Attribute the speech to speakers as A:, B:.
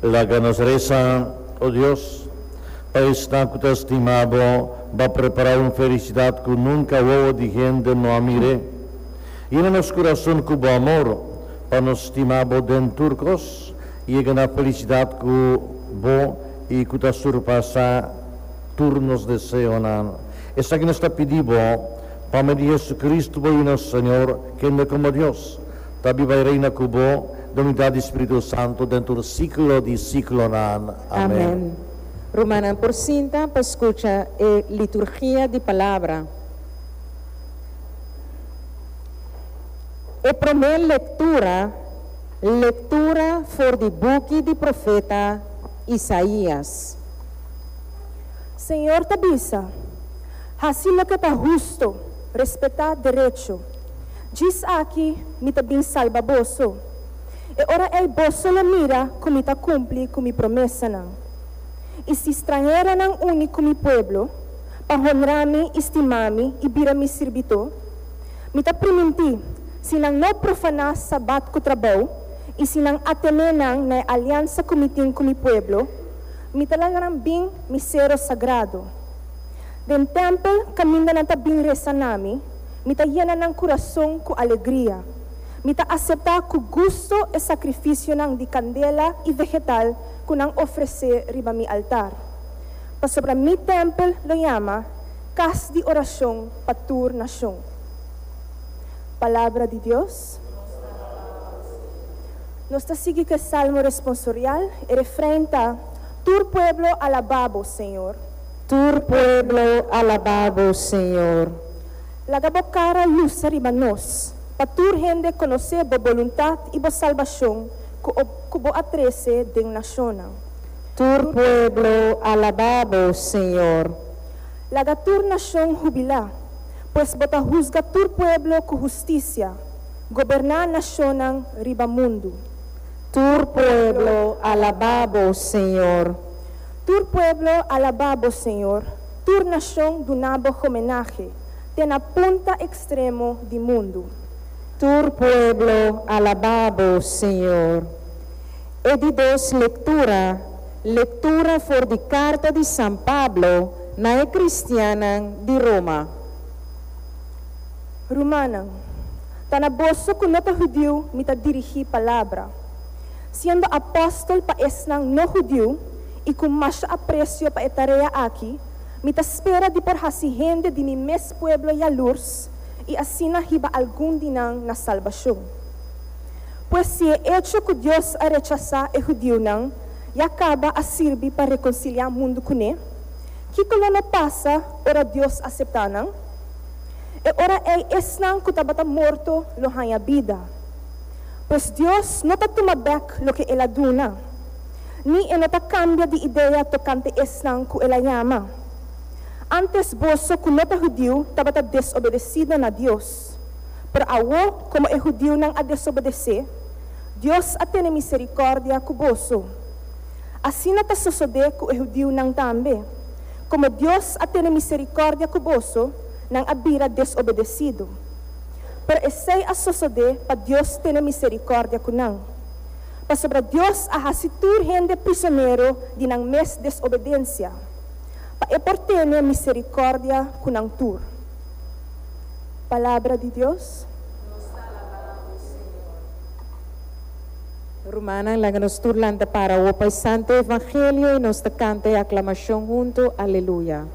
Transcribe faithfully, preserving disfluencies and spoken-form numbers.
A: Laga nos resa. O Dios, pa esnan ku ta stima Bo, B'a prepará un felisidat ku nunka wowo di hende no a mir'é. Yena nos kurason ku Bo amor, pa nos stima Bo den tur kos i yega na felisidat ku Bo i ku ta surpasá tur nos deseonan. Esaki nos ta pidi Bo pa medio di Hesukristu, Bo Yu, nos Señor, kende komo Dios ta biba i reina ku Bo den unidat di Spiritu Santu den tur siglo di siglonan. Amèn.
B: Amèn. Rumannan, por sinta pa skucha e liturgia di palabra. E promé lektura, lektura for di buki di profeta Isaías.
C: Señor ta bisa, Hasi loke ta husto, respetá derecho. Djis aki mi ta bin salba boso. E ora ei boso lo mira ku mi ta kumpli ku mi promesanan. I si stranheronan uni ku mi pueblo, pa honra mi i stima mi i bira mi sirbidó, mi ta primintí, si nan no profaná sabat ku trabou i si nan atené nan na e aliansa ku mi tin ku mi pueblo, mi ta laga nan bin mi sero sagrado. Den tèmpel kaminda nan ta bin resa na mi, mi ta yena nan kurason ku alegria. Mi ta aseptá ku gusto e sakrifisionan di kandela i vegetal ku nan ofresé riba mi altar. Pasobra mi tèmpel lo yama kas di orashon pa tur nashon. Palabra di Dios. Nos ta sigui ku e salmo responsorial. E refrein ta, Tur pueblo alabá bo, Señor.
B: Tur pueblo alabá bo, Señor.
C: Laga bo kara lusa riba nos, pa tur hende konosé bo boluntat i bo salbashon ku ku bo a trese den nashonnan.
B: Tur pueblo alabá bo, Señor.
C: Laga tur nashon hubilá, pues bo ta husga tur pueblo ku hustisia, goberná nashonnan riba mundu.
B: Tur pueblo alabá bo, Señor.
C: Tur pueblo alabá bo, Señor, tur nashon duna bo homenahe, te na punta ekstremo di mundu.
B: Tur pueblo alabá bo, Señor. E di dos lektura, lektura for di karta di San Pablo na e kristiannan di Roma.
C: Rumannan, ta na boso ku no ta hudiu mi ta dirigí palabra. Siendo apòstel pa esnan no hudiu i ku masha apresio pa e tarea aki, mi ta spera di por hasi hende di mi mes pueblo yalurs i asina hiba algun di nan na salbashon. Pues si e echo ku Dios a rechasá e hudiunan ya kaba a sirbi pa rekonsiliá mundu kuné, kiko lo no pasa ora Dios aseptá nan? E ora ei esnan ku tabata morto lo haña bida. Pues Dios no ta tuma bèk loke el a duna, ni e no ta kambia di idea tokante esnan ku el a yama. Ántes boso ku no ta hudiu tabata desobedesido na Dios, pero awor komo e hudiunan a desobedesé, Dios a tene miserikòrdia ku boso. Asina ta sosodé ku e hudiunan tambe. Komo Dios a tene miserikòrdia ku boso, nan a bira desobedesido. Pero esei a sosodé pa Dios tene miserikòrdia ku nan. Pasobra Dios a hasi tur hende prisonero di nan mes desobedensia, pa e por tene miserikòrdia ku nan tur. Palabra di Dios.
B: Nos ta alabá bo, Señor. Rumannan, laga nos tur lanta para awor pa e Santo Evangelio i nos ta kanta e aklamashon huntu, Aleluya.